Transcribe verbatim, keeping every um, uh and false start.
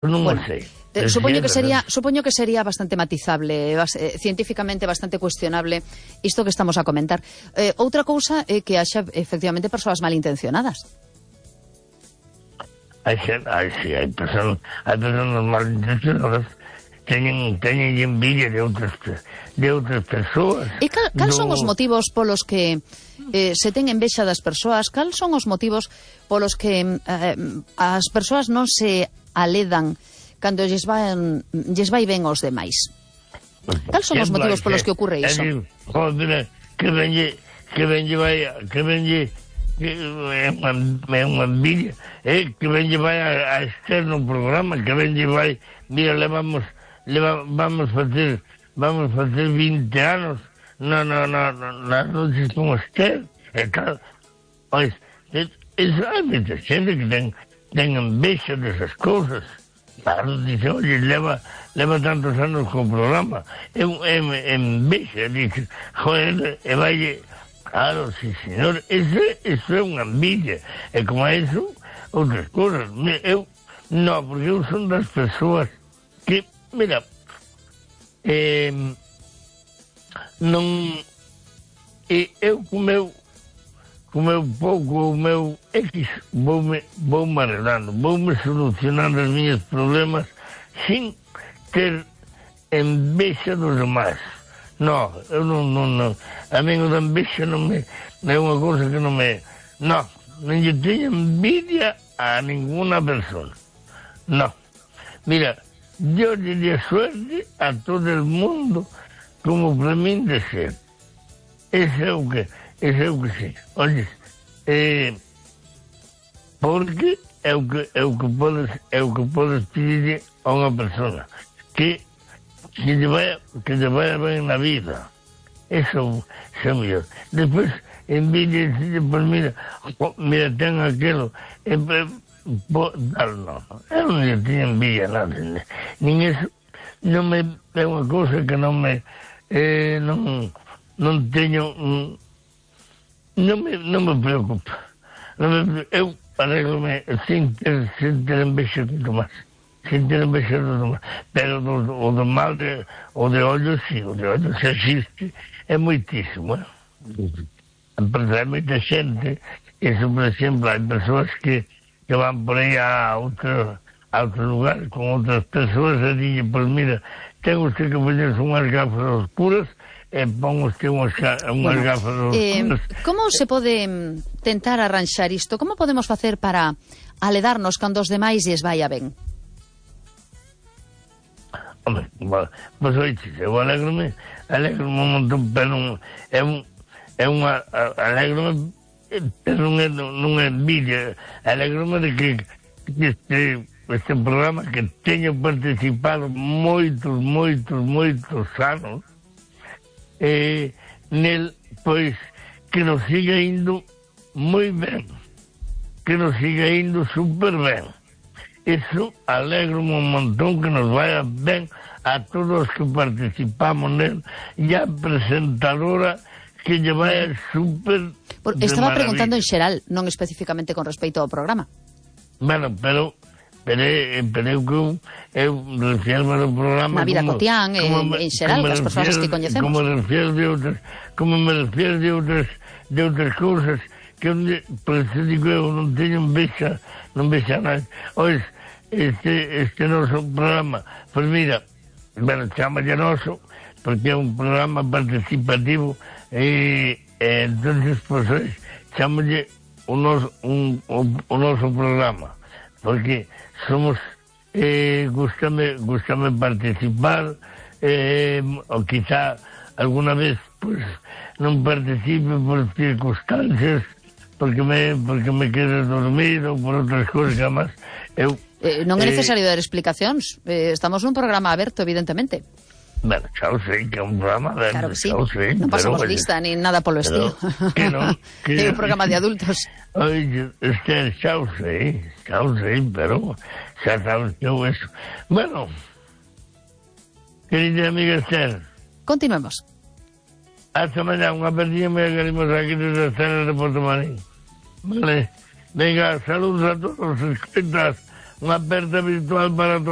Non bueno, o sei. Eh, supoño que sería supoño que sería bastante matizable, bas, eh, científicamente bastante cuestionable isto que estamos a comentar. Eh, outra cousa é que haxa efectivamente persoas malintencionadas. Hai xente, hai, sí, hai persoas, hai persoas malintencionadas teñen, teñen envidia de outras de outras persoas. E cal, cal do... son os motivos polos que eh, se ten envexa das persoas? Cal son os motivos polos que eh, as persoas non se aledan cando lles vai, lles vai ben aos demais? Cal son os motivos polos que ocurre iso? Joder, que venlle, que venlle vai, que venlle, que é unha envidia, eh, que venlle vai a, a externo programa, que venlle vai, mira, levamos, leva, vamos facer, vamos facer vinte anos, na, na, na, nas noches con Esther, e tal, pois, eso, hai moita xente que ten, ten envexa desas cousas. Claro, dice, oye, leva, leva tantos anos con o programa. É un envexa, dice, joder, e vai... Claro, sí, señor, eso, eso é unha envidia. E como a eso, outras cosas. Eu, no, porque eu son das persoas que, mira, eh, non... E eu, co meu... co meu pouco, o meu X, voume, voume arreglando, voume solucionando os meus problemas sin ter envexa dos demais. No, eu non, non, non. A mí o da envexa non me, é unha cousa que non me... No, non lle teño envidia a ninguna persona. No. Mira, yo lle lle suerte a todo el mundo como para min de ser. Ese é o que... Ese é o que sei. Olles, eh, porque é o que, é o que podes, é o que podes pedir a unha persona que que lle vaya, que lle vaya ben na vida. Eso é mellor. Despois, envidia, pues mira, mira, ten aquelo, eh, po, tal, no, eu non lle teño envidia nada, nin eso, non me, é unha cousa que non me, eh, non, non teño... Mm, Non me, non me preocupa. Non me, eu arreglome sin ter, sin ter envexa de tomar. Sin ter envexa de tomar. Pero do, o do mal de, o de ollo, sí, o de ollo se existe, é moitísimo. Eh? Hai moita xente, eso, por exemplo, hai persoas que, que van por aí a outro, a outro lugar con outras persoas e dixen, pois mira, ten usted que poñerse unhas gafas oscuras e pon usted unhas, unhas bueno, gafas oscuras. Eh, como se pode tentar arranxar isto? Como podemos facer para aledarnos cando os demais lles vai a ben? Hombre, pois oiches, eu alegrome, alegrome un montón, pero non, é un, é unha, alegrome, pero non é, non é envidia, alegrome de que, que este, este programa que teño participado moitos, moitos, moitos anos, eh, nel, pois, que nos siga indo moi ben, que nos siga indo super ben. Eso alegro un montón que nos vaya ben a todos os que participamos nel e a presentadora que lle vaya super Por, estaba preguntando en xeral, non especificamente con respecto ao programa. Bueno, pero pero, pero eu que eu refiero ao programa na vida como, cotián, como, en xeral, as persoas que coñecemos. Como me refiero de outras, como me refiero de outras, de outras cousas que onde, por eso digo eu, non teño envexa, non vexa nada. Ois, este, este noso programa, pois mira, bueno, chama de noso, porque é un programa participativo e, e entonces, pois, ois, chamalle o noso, un, o, o noso programa, porque somos, eh, gustame, gustame participar, eh, ou quizá alguna vez, pois, non participe por circunstancias, porque me, porque me quedo dormido, por outras cousas que además eu... Eh, non é necesario eh, dar explicacións, eh, estamos nun programa aberto, evidentemente. Bueno, xa o sei que é un programa aberto, claro que sí. Xa o sei, non pasamos pero, lista, ni nada polo estilo. Que non, que... É un programa de adultos. Oye, este, xa o sei, xa o sei, pero xa sabes que eu eso. Bueno, querida amiga Esther, continuemos. Hasta mañana, unha perdida me queremos aquí desde Esther de Porto Marín. Vale, venga, saludos a todos os escritas unha aperta virtual para todos.